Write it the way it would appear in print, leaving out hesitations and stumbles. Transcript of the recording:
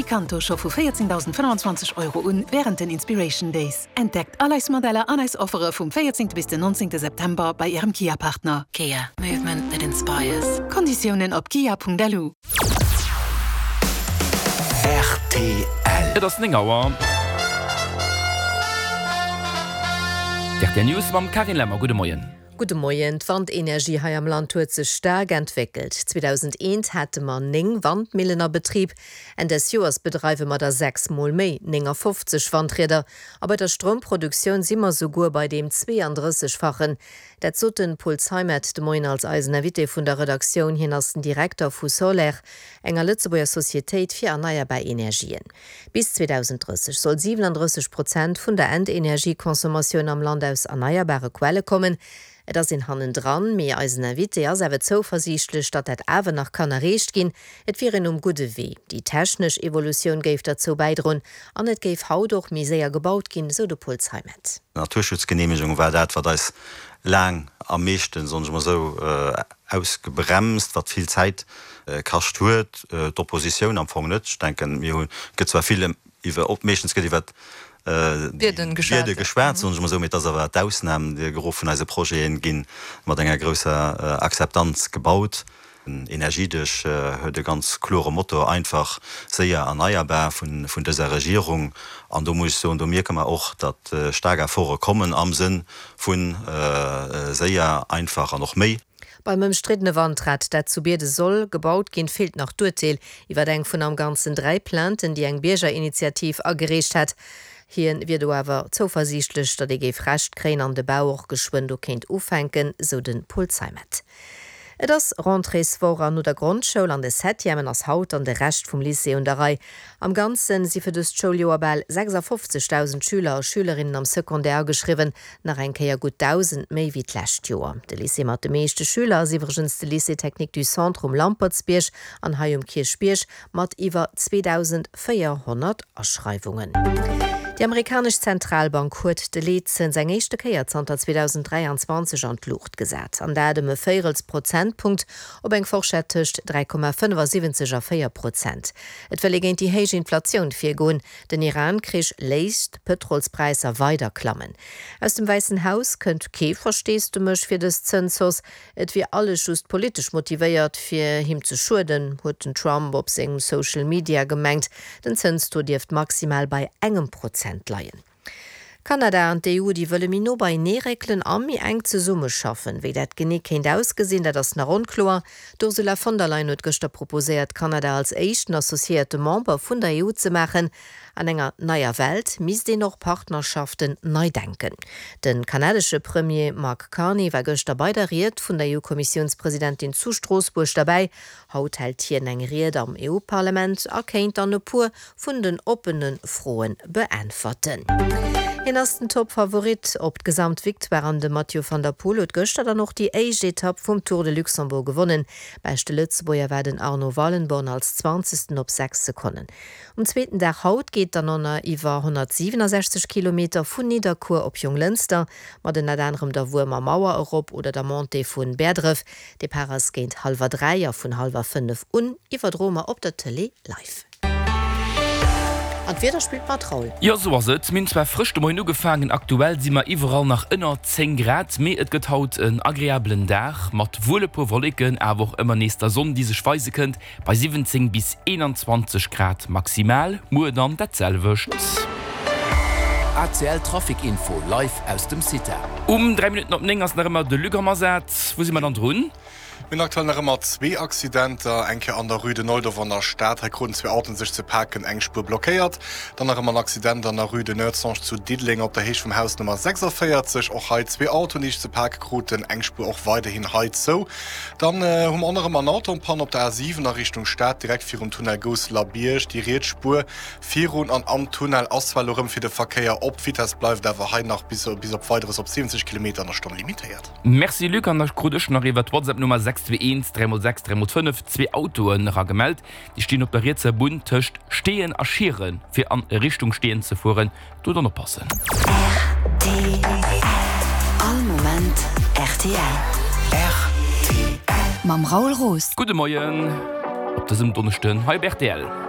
Picanto scho vu 14.025 Euro un wärend den Inspiration Days. Entdeckt all eis Modeller an eis Offere vum 14. bis den 19. September bei Ärem Kia-Partner. Kia, Movement that inspires. Konditiounen op kia.lu. Rtl. Et ass 9 Auer. D'RTL News mam Carine Lemmer. Gudde Moien. Gudde Moien. D'Wandenergie hei am Land huet sech staark entwéckelt. 2001 hate mer 9 Wandmillen a Betrib. Enn des Joers bedreiwe mer der 6 mol méi, 59 Wandrieder. A bei der Stroumproduktioun si mer souguer bei deem 32-fachen. Dat sot de Paul Zeimet de Moien als eisen Invité vun der Redaktioun. Hien ass den Direkter vu Soler, enger Lëtzebuerger Societéit fir erneierbar Energien. Bis 2030 soll 37 Prozent vun der Endenergieconsommatioun am Land aus erneierbare Quelle kommen. Et ass een hannendran, mee eisen Invité ass awer zouversiichtlech, datt dat awer nach kann erreecht ginn. Et wier een um gudde Wee. Déi technesch Evolutioun géif derzou bäidroen an et géif haut och méi séier gebaut ginn, sou de Paul Zeimet. D'Naturschutzgeneemegung war dat, wat eis laang am meeschten, soen ech mol esou, ausgebremst, wat vill Zäit kascht huet. D'Oppositioun am Fong net. Ech denken, mir hunn, et gëtt zwar vill iwwer, meeschtens gëtt iwwer déi Biede geschwat, soen ech mol esou, mee et ass awer d'Ausnam. De Gros vun eise Projete gi mat enger grousser Akzeptanz gebaut. Den Energiedesch huet e ganz klore Motto, einfach, séier, erneierbar vun dëser Regierung. An do muss ech soen, do mierke mer och, datt staark Efforte kommen am Sënn vu séier, einfach an och méi. Beim ëmstriddene Wandrad, dat zu Bierden soll gebaut ginn, feelt nach d'Urteel iwwer eng vun am Ganzen 3 Plainten, déi eng Biergerinitiativ agereecht hat. Hien wier do awer zouversiichtlech, datt ee géif Recht kréien an de Bau och geschwënn do kéint ufänken, sou de Paul Zeimet. Et ass Rentréeswoch an no der Grondschoul an de Septièmen ass haut dann de Rescht vum Lycée un der Rei. Am Ganzen si fir dëst Schouljoer bal 56.000 Schüler a Schülerinnen am Secondaire ageschriwwen, nach eng Kéier gutt 1.000 méi wéi d'lescht Joer. De Lycée mat de meeschte Schüler ass iwwregens de Lycée Technique du Centre um Lampertsbierg an hei um Kierchbierg mat iwwer 2.400 Aschreiwungen. Déi amerikanesch Zentralbank huet de Leetzëns eng éischte Kéier zanter 2023 an d'Luucht gesat, an dat ëm e Véirels Prozentpunkt op eng Forschett tëscht 3,75 a 4 Prozent. Et wëll ee géint déi héich Inflatioun virgoen. Den Iran-Krich léisst d'Pëtrolspräisser weider klammen. Aus dem Wäissen Haus kënnt kee Versteesdemech fir dës Zënshausse. Et wier alles just politesch motivéiert, fir him ze schueden, huet den Trump op sengem Social Media gemengt. Den Zënstaux dierft maximal bei engem Prozent leien. Kanada an d'EU, déi wëlle méi no beienee réckelen a méi enk zesummeschaffen. Wéi dat genee kéint ausgesinn, dat ass nach onkloer. D'Ursula von der Leyen huet gëschter proposéiert, Kanada als éischten associéierte Member vun der EU ze maachen. An enger neier Welt misst een och Partnerschaften nei denken. De kanadesche Premier Mark Carney war gëschter bei der Ried vun der EU-Kommissiounspresidentin zu Stroossbuerg derbäi. Haut hält hien eng Ried am EU-Parlament a kéint dann e puer vun den oppene Froe beäntwerten. Hien ass den Toppfavorit op d'Gesamtvictoire an de Mathieu van der Poel huet gëschter dann och déi éischt Etapp vum Tour de Luxembourg gewonnen. Beschte Lëtzebuerger war den Arno Wallenborn als Zwanzegsten op 6 Sekonnen. Um zweeten Dag haut geet dann ënner iwwer 167 Kilometer vun Nidderkuer op Jonglënster, mat ënnert anerem der Wuermer Mauer erop oder der Montée vun Bäerdref. Depart ass géint hallwer 3 a vun hallwer 5 un iwwerdroe mer op der Tëlee live. An d'Wieder spillt mat, Raoul. Jo, sou ass et. Mir hunn zwar frësch de Moien ugefaangen, aktuell si mer iwwerall nach ënner 10 Grad, mee et gëtt haut en agreabelen Dag mat wuel e puer Wolleken, awer och ëmmer nees der Sonn, déi sech weise kënnt. Bei 17 bis 21 Grad maximal, muer dann dat selwecht. ACL Trafic Info live aus dem CITA. Um 3 Minutten op 9 ass nach ëmmer de Luc am Asaz. Wou si mer dann drun? Mir hunn aktuell nach ëmmer zwee Accidenter, eng Kéier an der Rue de Neudorf an der Stad, hei kruten zwee Autoen sech ze paken, eng Spuer blockéiert. Dann nach ëmmer en Accident an der Rue de Noertzange zu Diddeleng op der Héicht vum Haus Nummer 46, och hei zwee Autoen, déi sech ze pake kruten, eng Spuer och weiderhin hei zou. Dann hu mer och nach ëmmer en Auto en panne op der A7 a Richtung Stad, direkt virum Tunnel Gousseler Bierg. Déi riets Spuer virun an am Tunnel ass zwar elo rëm fir de Verkéier op, d'Vitess bleift awer hei nach bis op Weideres op 70 Kilometer an der Stonn limitéiert. Merci Luc, an da krut ech nach iwwer d'Whatsapp-Nummer 621 3 x 6 3 x 5 zwee Autoen eragemellt. Déi stinn op der rietser Bunn tëscht Steeën a Schieren, fir an Richtung Steeën ze fueren. Do dann oppassen. Rtl. All Moment rtl. Rtl. Mam Raoul Roos. Gudde Moien op dësem Donneschden hei op rtl.